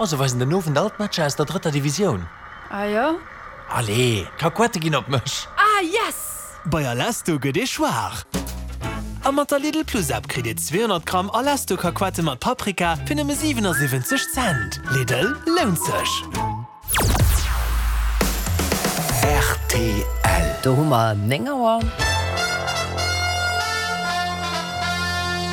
Oh, se weisen den Owend all d'Matcher aus der drëtter Divisioun. Ah jo? Allez, d'Kakuette ginn op mech! Ah yes! Bei Alesto gëtt ee schwaach! A mat der Lidl Plus App kritt Dir 200 Gramm Alesto Kakuette mat Paprika fir nëmme 77 Cent. Lidl, lount sech! Rtl. Do hu mer 9 Auer.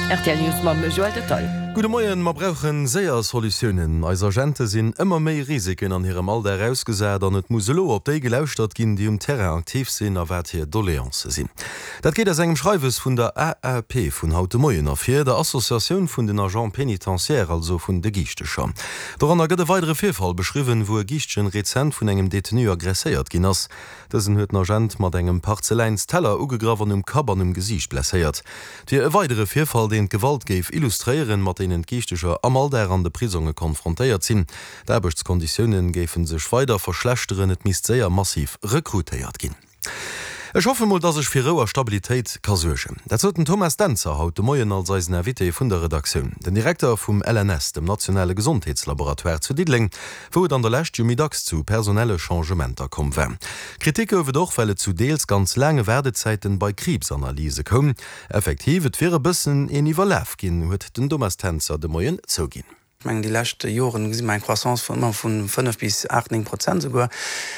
Rtl News mam Joël Detaille. Gudde Moien, Mer brauchen séier Solutiounen. Eis Agente sinn ëmmer méi Risiken an hirem Alldag ausgesat an et muss elo op déi gelauschtert ginn, déi um Terrain aktiv sinn a wat hir Doleancë sinn. Dat geet aus engem Schreiwes vun der AAP vun haut de Moien ervir, der Associatioun vun den Agents pénitentiaires, also vun de Giichtecher. Doranner gëtt e weidere Virfall beschriwwen, wou e Giischtchen rezent vun engem Detenu aggresséiert ginn ass. Dësen huet den Agent mat engem Parzeläins-Teller ugegraff an um Kapp an um Gesiicht blesséiert. Et wier e weidere Virfall, deen d'Gewalt géif illustréieren, mat deenen d'Giichteger am Alldag an de Prisonge konfrontéiert sinn. D'Aarbechtskonditioune géife sech weider verschlechteren, et misst séier massiv rekrutéiert ginn. Ech hoffe mol, dass ech fir Rou a Stabilitéit ka suergen. Dat sot den Thomas Dentzer haut de Moien als eisen Invité vun der Redaktioun. Den Direkter vum LNS, dem nationale Gesondheetslaboratoire zu Diddeleng, wou et an der Lescht jo méi dacks zu personelle Changementer komm war. Kritik gouf et och, well et zu deels ganz laange Waardezäiten bei Kriibsanalyse koum. Effektiv, et wier e bëssen een Iwwerlaf ginn, huet den Thomas Dentzer de Moien zouginn. Ech mengen, déi lescht Joren gesi mer eng Croissance vun ëmmer vu 5 bis 8, 9 Prozent esouguer.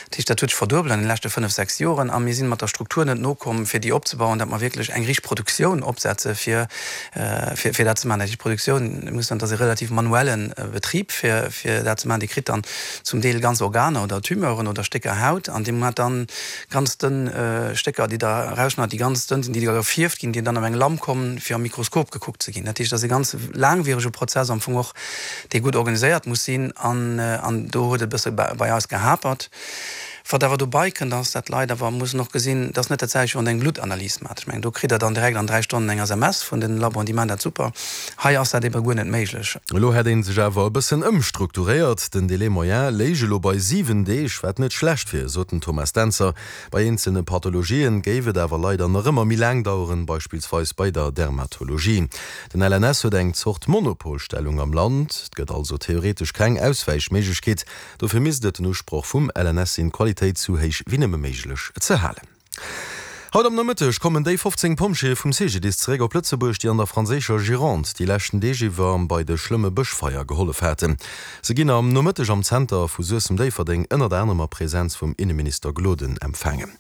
Dat heescht, dat huet sech verduebelt an de leschte 5, 6 Joren. A mir sinn mat der Struktur net nokomm, fir déi opzebauen, datt mer wierklech eng richteg Produktioun opsetze fir, fir dat ze maachen. Dat heescht, d'Produktioun muss dann, dat ass e relativ manuelle Betrib, fir, fir dat ze maachen. Dir kritt dann zum Deel ganz Organer oder Tumeuren oder Stécker Haut an Dir maacht dann ganz dënn Stécker, déi Der erausschneit, déi ganz dënn sinn, déi da gefierft ginn, déi dann op eng Lamp kommen, fir am Mikroskop gekuckt ze ginn. Dat heescht, dat ass e ganz laangwierege Prozess am Fong och, dee gutt organiséiert muss sinn an, an do huet et e bësse bei eis gehapert. Wat awer dobei kënnt, ass, dat d'Leit awer mussen och gesinn, et ass net dat selwecht, wéi wann Der eng Bluttanalys maacht. Ech mengen, do kritt Der dann direkt an 3 Stonnen eng SMS vun den Laboen, déi maachen dat super. Hei ass dat ebe guer net méiglech. Elo hätt ee sech awer e bëssen ëmstrukturéiert. Den Délai moyen léich elo bei 7 Deeg, wat net schlecht wier, sot den Thomas Dentzer. Bei eenzelne Pathologien géif et awer leider nach ëmmer méi laang daueren, beispillsweis bei der Dermatologie. Den LNS huet eng Zort Monopolstellung am Land. Et gëtt also theoretesch keng Auswäichméiglechkeet. Dofir misst et den Usproch vum LNS sinn, d'Qualitéit sou héich wéi nëmme méiglech ze halen. Haut am Nomëtteg kommen déi 15 Pompjeeë vum CGDIS zeréck op Lëtzebuerg, déi an der franséischer Gironde déi leschten Deeg iwwer bei de schlëmme Bëschfeier gehollef haten. Se ginn am Nomëtteg am Zenter vu Suessem-Déifferdeng ënnert anerem a Präsenz vum Inneminister Gloden empfaangen.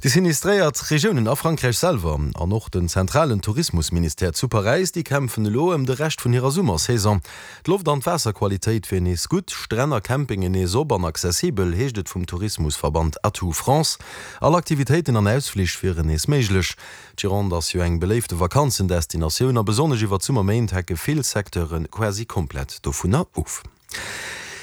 Déi sinistréiert Regiounen a Frankräich selwer an och den zentralen Tourismusministère zu Paräis, déi kämpfen elo ëm de Rescht vun hirer Summersaison. D'Loft an d'Waasserqualitéit wier nees gutt, Stränn a Campingen nees op an accessibel, heescht et vum Tourismusverband Atout France. All Aktivitéiten an Ausflich wieren nees méiglech. D'Gironde ass jo eng beléifte Vakanzendestinatioun a besonnesch iwwer d'Summerméint hecke vill Secteure quasi komplett dovunner of.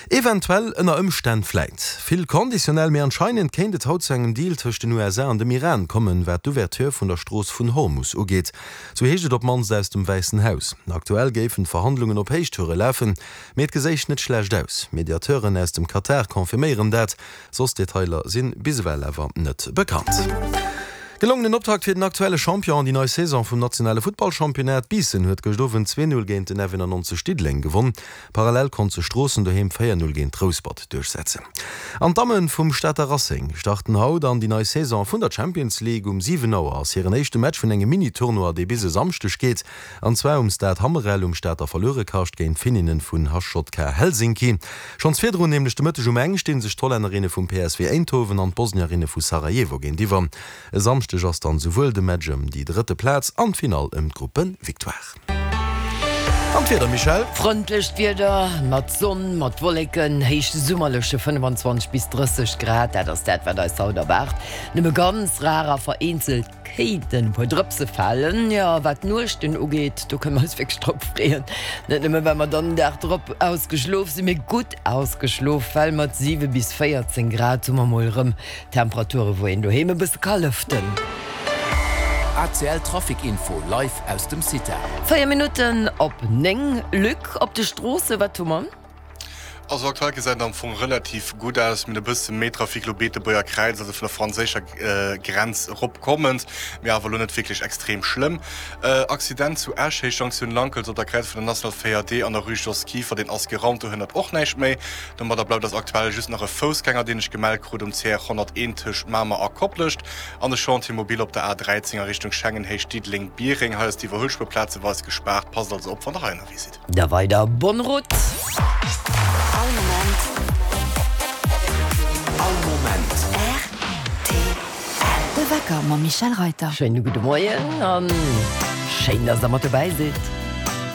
Eventuell, ënner Ëmstänn, vläit, vill conditionnel, mee anscheinend kéint et haut zu engem Deal tëscht den USA an dem Iran kommen, wat d'Ouverture vun der Strooss vun Hormus ugeet. Sou heescht et op d'mannst aus dem Wäissen Haus. Aktuell géifen d'Verhandlungen op Héichtoure lafen, mee et geséich net schlecht aus. Mediateuren aus dem Katar confirméieren dat. Soss Detailer si bis ewell awer net bekannt. Gelongenen Optakt fir den aktuelle Champion an déi nei Saison vum nationale Futtballchampionnat. Biissen huet gëscht Owend 2, 0 géint den F91 Diddeleng gewonn. Parallel konnt sech Stroossen doheem 4, 0 géint Rouspert duerchsetzen. An d'Damme vum Stater Racing starten haut an déi nei Saison vun der Champions League. Um 7 Auer ass hiren éischte Match vun engem Mini-Tournoi, dee bis e Samschdeg geet, an zwar um Stade Hammerel um Stater Verluerekascht géint d'Finninnen vun HJK Helsinki. Schonns virdrun, nämlech de Mëtteg um eng, sti sech d'Hollännerinne vum PSV Eindhoven an d'Bosnierinne vu Sarajevo géintiwwer. E Samschdeg ass dann souwuel de Match ëm déi drëtte Plaz an d'Finall ëm d'Gruppe-Victoire. An d'Wieder, Michèle? Frëndlecht Wieder mat Sonn, mat Wolleken, héichsummerleche 25 bis 30 Grad, dat ass dat, wat eis haut erwaart. Nëmme ganz rar a vereenzelt kéinten e puer Drëpse falen. Jo, wat d'Nuechten ugeet, do kënne mer eis wierklech drop freeën. Net nëmme well mer dann den Dag drop ausgeschlof sinn, mee gutt ausgeschlof, well mat 7 bis 14 Grad hu mer mol erëm Temperature wou een doheem e bësse ka lëften. ACL Trafic Info live aus dem CITA. 4 Minutten op 9, Luc, op de Stroosse, wat hu mer? Also aktuell gesäit et am Fong relativ gutt aus. Mir hunn e bësse méi Trafic elo Beetebuerger Kräiz, also vun der franséischer Grenz erop kommend, mee awer elo net wierklech extrem schlëmm. Accident zu Esch, Héich Jonktioun Lankels op der Kräiz vun der National 4D an der Rue Jos Kieffer, deen ass geraumt, do hënnert och näischt méi. Domadder bleift eis aktuell just nach e Foussgänger, deen ech gemellt krut um CR 101 tëscht Mamer a Koplescht an de Chantier mobile op der A13 a Richtung Schengen, Héicht Diddeleng-Biereng. Hei ass d'Iwwerhuelspuer plazeweis gespaart, passt also op wann der hei ënnerwee sidd. Da weider bonne route! All Moment. All Moment. Rtl. De Wecker mam Michèle Reyter. Schéine gudde Moien an schéin, dass der mat dobäi sidd.